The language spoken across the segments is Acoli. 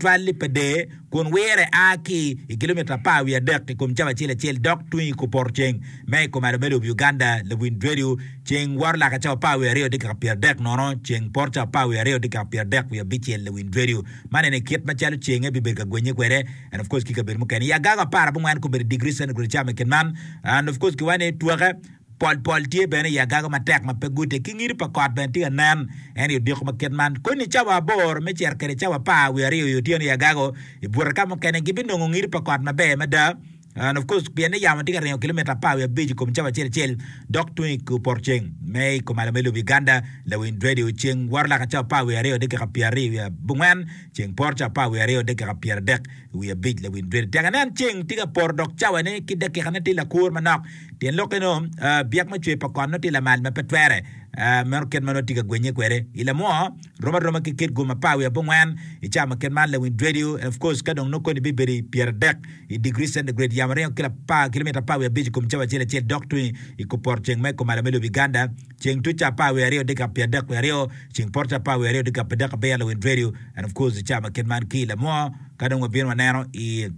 tutwal-li pa der kun wire a ki i kilomita 13 i kom cawa acel acel dok tung i kupoto ceng me i kumalo me lobo Uganda. Lawiny redio ceng woto laka cawa 12 dakika 30 nono ceng poto cawa 12 dakika 35. Lawiny redio man eni kit macalo cenge bibedo ka gwenye kwede and of course ki kabedo mukene i agago 14 kobedo degree centigrade cawa me kit man and of course kiwaco ni twake Pol pol tye bene i agago matek ma pe gute, ki ngido pa kot bene tye ka nen en i odiko ma kit man. Koni cawa aboro me cito kwede cawa 12 i otyeno i agago, i bute ka mukene gibinongo ngido pa kot maber mada. And of course, pien ni yamo tye ka ringo kilomita 15 i kom cawa acel acel dok tung i poto ceng me i kumalo me lobo Uganda, lawiny radio ceng woto laka cawa 12 dakika 24, ceng poto cawa 12 dakika 30. 5 lawiny radio. Tek inen ceng tye ka poto dok cawane ki dakikane tye lakur manok. Tyen lokke nongo byek me cwer pa kot nongo tye lamal ma pe twere. Meno kit ma nongo tye ka gwenye kwede. I lamwo rom aroma ki kit gum 14 i cawa ma kit man lawiny radio and of course ka dong nongo koni bibedo i 30 i degree centigrade yamo ringo kilomita 15 i kom cawa acel acel dok tung i kupoto ceng ma i kumalo me lobo Uganda. Ceng tuc ca 12 dakika 32, ceng poto ca 12 dakika 37 lawiny radio and of course i cawa ma kit man ki i lamwo Ka dong wabino waneno i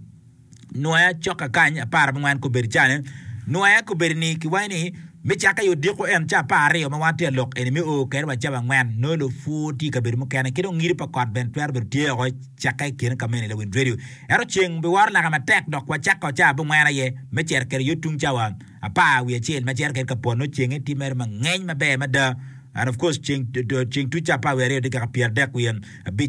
Nwoya cok kakany aparabongwen kobedo cani, Nwoya kobedo ni kiwaco ni me cakke i odiko en ca 12 ma wan tye ka lok eni me o kede wa cawa angwen nongo lupur tye i kabedo mukene ki dong ngido pa kot bene twero bedo tye oko cakke i kine ka meno lawiny radio. Ento ceng biworo laka matek dok wacako ca abongwen aye me cito kede yo tung cawa 11 ma cito kede ka pwot nongo cenge tye mere mangeny maber mada. And of course ceng ceng tuc ca 12 dakika 35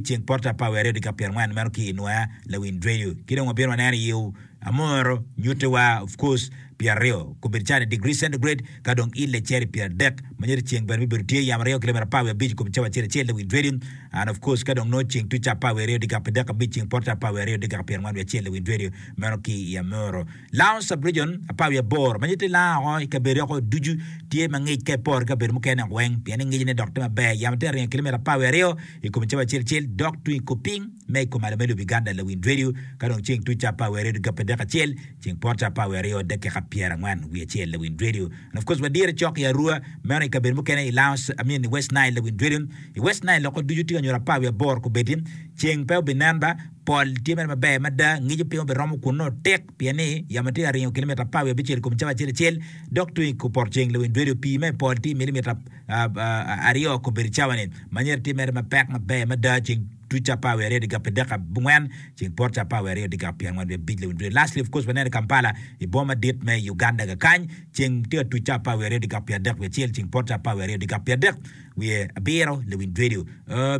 ceng poto ca 12 dakika 40 meno ki i nwoya lawiny radio ki dong wabino waneno i Amoro nyute wa of course 20 kobedo cani degree centigrade ka dong ille cito i 30 ma nyuto ceng bene bibedo tye yamo aryo kilomita 15 kom cawa acel acel lawiny radio and of course ka dong nongo ceng tuc ca 12 dakika 35 ceng poto ca 12 dakika 41 lawiny radio meno ki i Amoro Lango Sub-region 18 ma nyutti lango oko i kabedo oko ducu tye ma ngic ka iporo ki kabedo mukene oko weng pien ni ngicne dok tye maber. Yamo tye ka ringo kilomita 12 i kom cawa acel acel dok tung i kor piny me i kumalo me lobo Uganda lawiny radio ka dong ceng tuc ca 12 dakika 31 ceng poto ca 12 dakika 41 lawiny radio and of course wadire cok i Arua meno i kabedo mukene i Lango I mean i West Nile lawiny radio i West Nile loko ducu tye ka nyuto 18 kobedi ceng pe obinen ba Pol tye mere maber mada, ngico piny obiromo kun nongo tik, pien ni yamo tye ka ringo kilomita 15 i kom cawa acel acel, dok tung i kupot ceng lawiny dwedi opii ma i pol tye i milimita aryo kobedo cawa-ni. Manyera tye mere mapek maber mada, ceng tuc ca 12 dakika 34, ceng poto ca 12 dakika 45 lawiny dwedi. Lastly of course waneno i Kampala i boma madit me Uganda kakany, ceng tye ka tuc ca 12 dakika 31, ceng poto ca 12 dakika 30. Wiye abiro lewiny radio.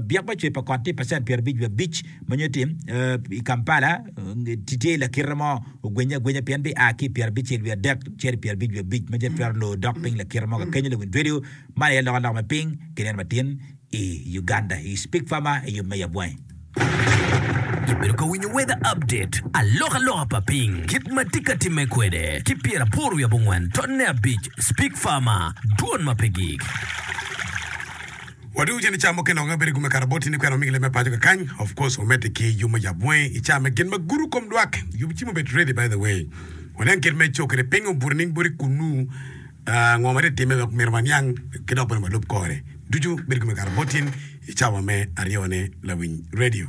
Byek me cwer pa kot tye pacent 55 wiye abic ma nyutti i Kampala tye i lakite mo ogwenye agwenya pien bia ki i 73 cito i 55 ma twero lor dok piny lakite mo kakenyo lewiny radio. Man aye alokaloka me piny ki neno matin i Uganda i Speak Farmer i yub me yab wangi. Ibedo ka winyo Weather Update, alokaloka pa piny, kit ma tye ka timme kwede, ki 89 tonne abic, Speak Farmer, dwon ma pe gik. Wadwogo cen i caa mukene dok wabedo i gume kara boti ni kwena wamigi leb me paco kakany. Of course wamedde ki yub me yab wangi i caa me gin ma gudo kom lwak. Yub cim obed ready by the way. Wanen kit me co kwede piny obuto nining boti kunu ah, ngo ma tye timme wek myero waniang ki dok bene walub kore. Ducu bedo i gume kara boti i cawa me aryone lawiny radio.